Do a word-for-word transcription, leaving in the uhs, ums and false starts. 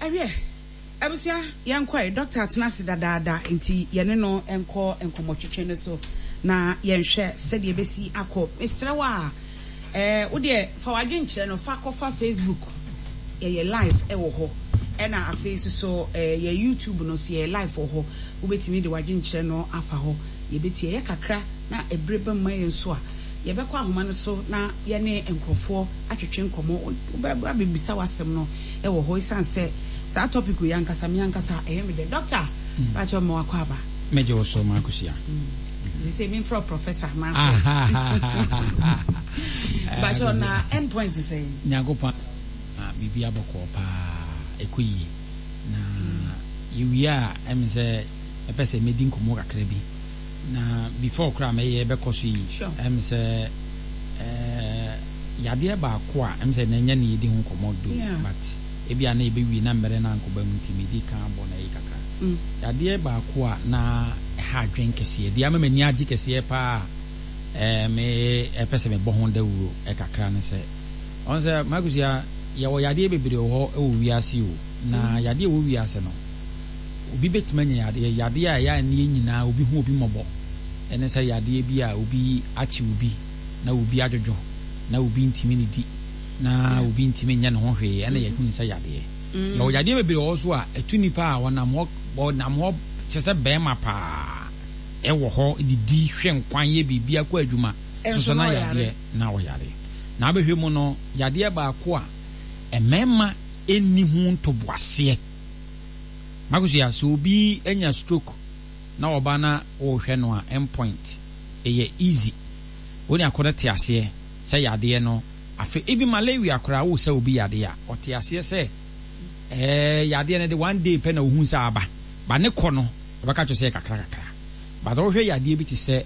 Ɛwiɛ, abusua, yɛnkɔ. Doctor atena ase dadaada, nti yɛne no nkɔ nkɔmmɔtwetwe no so na yɛnhwɛ sɛdeɛ ɛbɛsi akɔ. Mesrɛ wo a, ɛɛ wodeɛ fa w'adwenkyerɛ no fa kɔfa Facebook, yɛyɛ live ɛwɔ hɔ, ɛna afei nso so ɛɛ yɛ YouTube no so yɛyɛ live wɔ hɔ. Wobɛtumi de w'adwenkyerɛ no afa hɔ. Yɛbɛtie yɛ kakra na ebere bɛma yɛn so a, yɛbɛkɔ ahoma no so na yɛne nkurɔfoɔ atwetwe nkɔmmɔ. Wobɛba abɛbisa w'asɛm no ɛwɔ hɔ, ɛsiane sɛ saa topic yi ankasa me ankasa ɛyɛ me dɛ. Doctor, baakyɛ ma wakɔ aba. Mɛgye wo so, Maakosia. Sɛ memfrɛ professor anaasɛ baakyɛ na end point sɛ? Nyankopɔn, biribi abɔkɔɔ paa, ɛkɔ yie. Na yɛwie a, ɛme sɛ ɛpɛ sɛ mɛdi nkɔmmɔ kakra bi na before koraa mɛyɛ bɛkɔ so yi. Sure. Ɛme sɛ ɛɛ, yadeɛ baako a ɛme sɛ n'ɛnyɛ ne yɛdi ho nkɔmmɔ do, Yeah. but ebi a na yɛbɛwie na mmerɛ no ankɔba mu, nti medi kan abɔ na ɛyi kakra. Mm. Yadeɛ baako a na ɛha adwen kɛseɛ deɛ ama m'ani agye kɛseɛ paa, ɛɛ me ɛpɛ sɛ mebɔ ho dawuro ɛkakra ne sɛ, ɔn sɛ Makusia, yɛwɔ yadeɛ bebree wɔ hɔ ɛwɔ wiase o. Na yadeɛ wɔ wiase no, obi bɛtumi anya yadeɛ yadeɛ a ɛyɛ aneɛ nyinaa obi ho obi mmɔbɔ, ɛne sɛ yadeɛ bi a obi akye obi na obi adwodwo na obi ntumi ne di na obi ntumi nyɛ ne ho hwee, ɛna yɛhu ne sɛ yadeɛ. Yɛwɔ yadeɛ bebree wɔ hɔ so a ɛtu nipa a ɔnam hɔ ɔnam hɔ kyɛ sɛ bɛrima paa ɛwɔ hɔ, didi, hwɛ nkwan, yɛ biribi, akɔ adwuma. Ɛnso soso na na ɔyare. Yadeɛ na ɔyare na abɛhwɛ mu no, yadeɛ baako a mmarima ɛnni ho ntoboaseɛ, Makosia, sɛ obi anya stroke na ɔba na ɔrehwɛ no a, endpoint ɛyɛ easy, wɔne akɔ te aseɛ sɛ yadeɛ no. Afei even malaria koraa, wo sɛ obi yadeɛ a, ɔte aseɛ sɛ ɛɛ yadeɛ no de one day pɛ na ohun sɛ aba ba ne kɔ no, ɔbɛka kyerɛ sɛ yɛ kakra kakra, but ɔhwɛ yadeɛ bi te sɛ